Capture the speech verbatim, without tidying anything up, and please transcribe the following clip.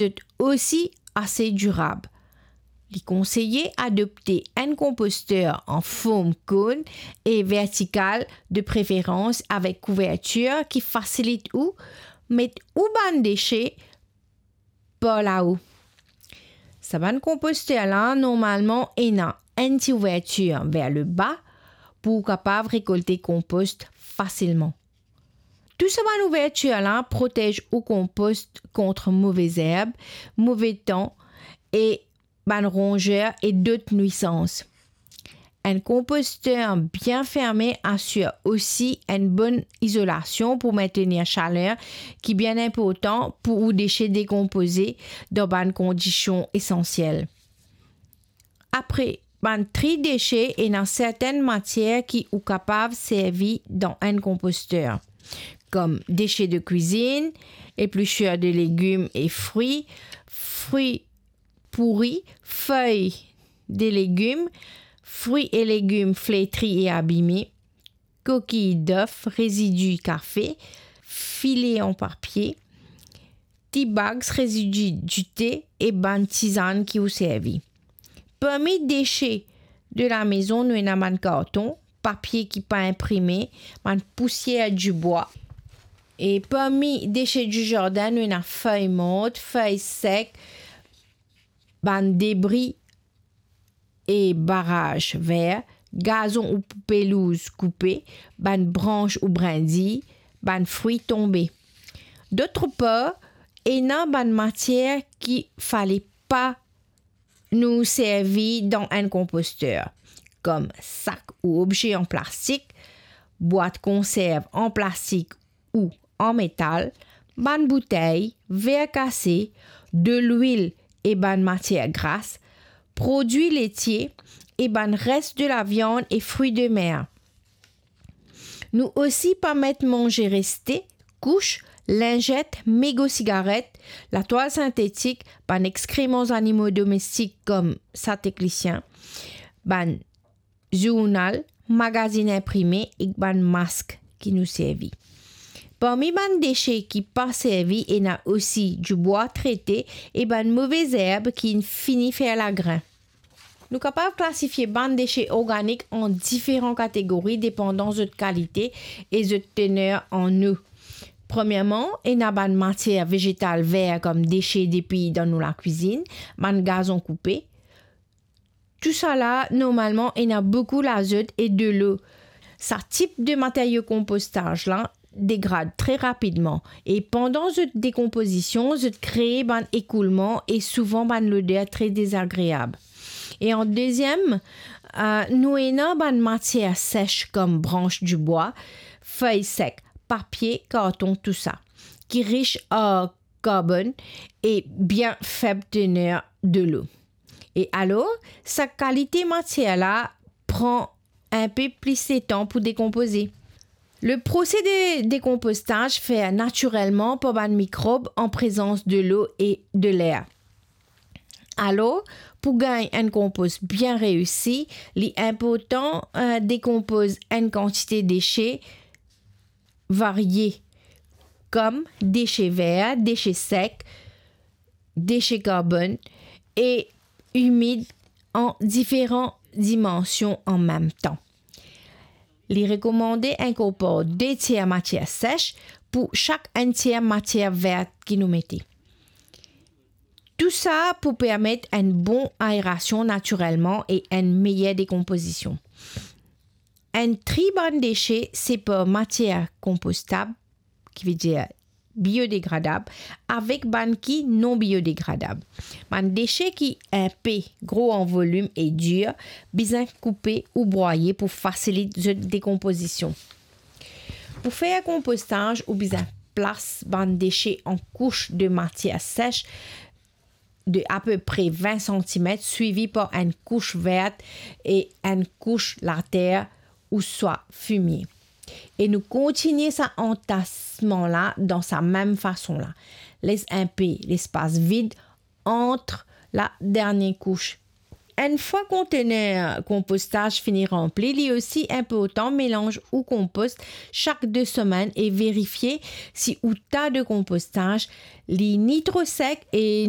zot osi ase dirab. Li konseye adopte enn konposter an form konn e vertikal, de preferans avek kouvertir ki fasilit ou met ou bann dese par lao. Sa bann konposter la normalman ena enn ti ouvertir ver leba pou ou kapav rekolte konpost fasilman. Tou sa bann ouvertir la protez ou konpost kont move zerb, move tan e bann ronzer e dot nwisans. Enn konposter bien ferme asir osi enn bonn izolasion pou mentenir saler ki bien inportan pou ou dese dekonpoze dan bann kondision esansiel. Apre bann tri dese, ena sertenn matier ki ou kapav servi dan enn konposter, kom dese de kwizinn, eplisir de legim e fri, fri pouri, fey de legim, fri e legim fletri e abime, kokiy def, rezidi kafe, file an papie, tea bags, rezidi dite e bann tizann ki ou servi. Parmi dese de lamezon, nou ena bann karton, papie ki pa inprime, bann pousier dibwa. E parmi dese di zardin, nou ena fey mort, fey sek, bann debri e baraz ver, gazon ou pelouz koupe, bann brans ou brindi, bann fri tonbe. Dotr par, ena bann matier ki fale pa nou servi dan enn konposter, kom sak ou obze an plastik, bwat konserv an plastik ou an metal, bann boutey, ver kase, delwil e bann matier gras, prodwi letie e bann res de laviann e fri de mer. Nou osi pa met manze reste, kous, linzet, mego sigaret, latwal sintetik, bann exkreman zanimo domestik kom sat ek lisien, bann zournal, magazin inprime ek bann mask ki nou servi. Parmi bann dese ki pa servi, ena osi dibwa trete e bann move zerb ki fini fer lagrin. Nou kapav klasifie bann dese organik an diferan kategori depandan zot kalite e zot tener an o. Premierman, ena bann matier vezetal ver kom dese depi dan nou lakwizinn, bann gazon koupe. Tousala, normalman, ena boukou lazot e delo. Sa tip de materio konpostaz la degrad tre rapidman e pandan zot dekonpozision, zot kree bann ekoulman e souvan bann loder tre dezagreab. E an deziem, eh, nou ena bann matier ses kom brans dibwa, fey sek, papie, karton, tousa, ki ris ar karbonn e bien feb tener delo. E alor, sa kalite matier la pran inpe plis letan pou dekonpoze. Le prose de dekonpostaz fer natirelman par bann mikrob an prezans delo e deler. Alor, pou gagn enn konpoz bien reisi, li inportan, eh, dekonpoz enn kantite dese varie, kom dese ver, dese sek, dese karbonn e imid an diferan dimansion an mem tan. Li rekomande inkorpor de tier matier ses pou sak enn tier matier vert ki nou mete. Tousa pou permet enn bon aerasion natirelman e enn meyer dekonpozision. Enn tri bann dese, se par matier konpostab, ki vedir biodegradab, avek bann ki non biodegradab. Bann dese ki inpe gro an volim e dir, bizin koupe ou brwaye pou fasilit zot dekonpozision. Pou fer konpostaz, ou bizin plas bann dese an kous de matier ses de apepre vin santimet, swivi par enn kous vert e enn kous later ouswa fimie. E nou kontinie sa antasman la dan sa mem fason la. Les inpe lespas vid ant la dernie kous. Enn fwa kontener konpostaz fini ranpli, li osi inportan melanz ou konpost sak de semenn e verifie si ou ta de konpostaz li ni tro sek e